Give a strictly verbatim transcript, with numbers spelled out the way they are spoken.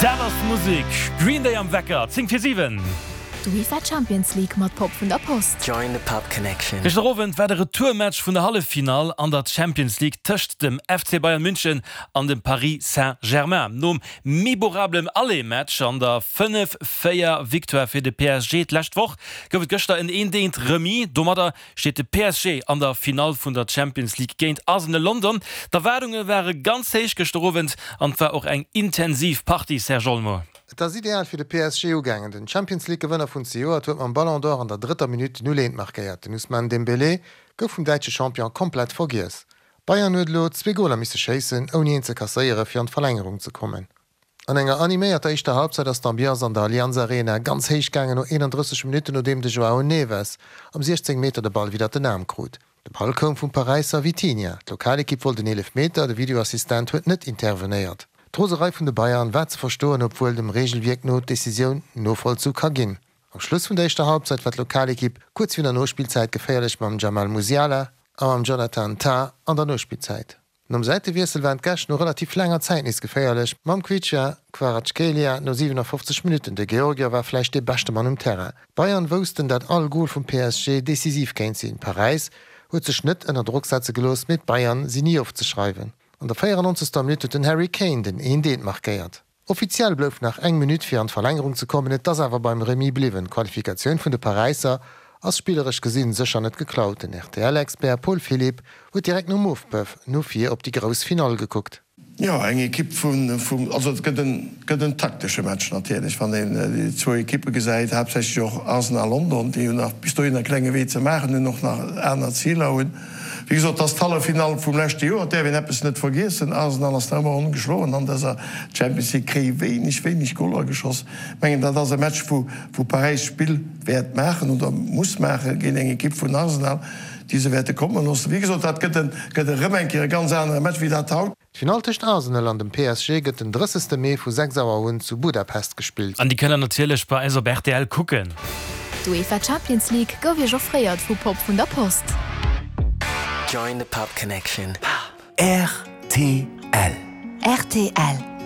Dat ass Musek! Green Day am Wecker, zéng vir siwen. D'UEFA Champions League mat Pop vun der Post. Join the Pop Connection. Gëschter Owend war de Retourmatch vun der Halleffinall an der Champions League tëscht dem F C Bayern München an dem Paris Saint-Germain. Nom memorablen Aller-Match an der fënnef véier Victoire fir de P S G d'lescht Woch gouf et gëschter en eent eent Remis. Domadder steet de P S G an der Finall vun der Champions League géint Arsenal London. D'Erwaardunge ware ganz héich gëschter Owend an et war och eng intensiv Partie, Serge Olmo. Et ass ideal fir de P S G ugaangen. Den Champions League Gewënner vun zejoert huet mam Ballon d'Or an der drëtter Minutt null eent markéiert. Den Ousmane Dembélé gouf vum däitsche Champion komplett vergiess. Bayern huet elo zwee Goler misse schéissen, ouni een ze kasséieren, fir an d'Verlängerung ze kommen. An enger animéierter éischter Halbzeit ass d'Ambiance an der Allianz Arena ganz héich gaangen no eenandrësseg Minutten, nodeem de Joao Neves am siechzéng Meter de Ball widder den Aarm krut. De Ball koum vum Paräisser Vitinha. D'Lokalekipp wollt den Eelefmeter, de Videoassistent huet net intervenéiert. D'Roserei vun de Bayern war ze verstoen, obwuel dem Reegelwierk no d'Decisioun novollzu ka ginn. Am Schluss vun der éischter Halbzeit war d'Lokalekipp kuerz virun der Nospillzäit geféierlech mam Jamal Musiala a mam Jonathan Tah an der Nospillzäit. Nom Säitewiessel waren d'Gäscht no relativ laanger Zäit nees geféierlech mam Khvicha Kvaratskhelia no siwenafoffzeg Minutten. De Georgier war vläicht dee beschte Mann um Terrain. D'Bayern woussten, datt all Gol vum P S G decisiv kéint sinn. Paräis huet sech net ënner Drock setze gelooss, mee d'Bayern sinn ni ofzeschreiwen. An der véierannonzegster Minutt huet den Harry Kane den eent eent markéiert. Offiziell blouf nach eng Minutt fir an d'Verlängerung ze kommen, et ass awer beim Remis bliwwen. D'Qualifikatioun vun de Paräisser ass spilleresch gesinn sécher net geklaut. Den R T L-Expert Paul Philipp huet direkt nom Ofpëff no vir op déi grouss Finall gekuckt. Jo, eng Ekipp vun, vum, also et gëtt en, gëtt en taktesche Match natierlech, wann een déi zwou Ekippe gesäit, haaptsächlech och Arsenal London, déi hunn nach bis dohin e klenge Wee ze maachen hunn, och nach aner Ziler hunn. Wéi gesot, et ass d'Halleffinall vum leschte Joer, et däerf een eppes net vergiessen, Arsenal ass nach ëmmer ongeschloen an dëser Champions League, kréie wéineg, wéineg Goler geschoss. Ech mengen, dat ass e Match, wou, wou Paräis Spill wäert maachen oder muss maache géint eng Ekipp vun Arsenal, déi se wäerte komme loossen. Wéi gesot, dat gëtt en, gëtt erëm eng Kéier e ganz anere Match wéi dat haut. D'Finall tëscht Arsenal an dem P S G gëtt den drëssegste Mee vu sechs Auer un zu Budapest gespillt. An déi kënnt der natierlech bei eis op R T L kucken. D'UEFA Champions League gouf Iech offréiert vu Pop vun der Post. Join the Pop Connection. R T L. R T L.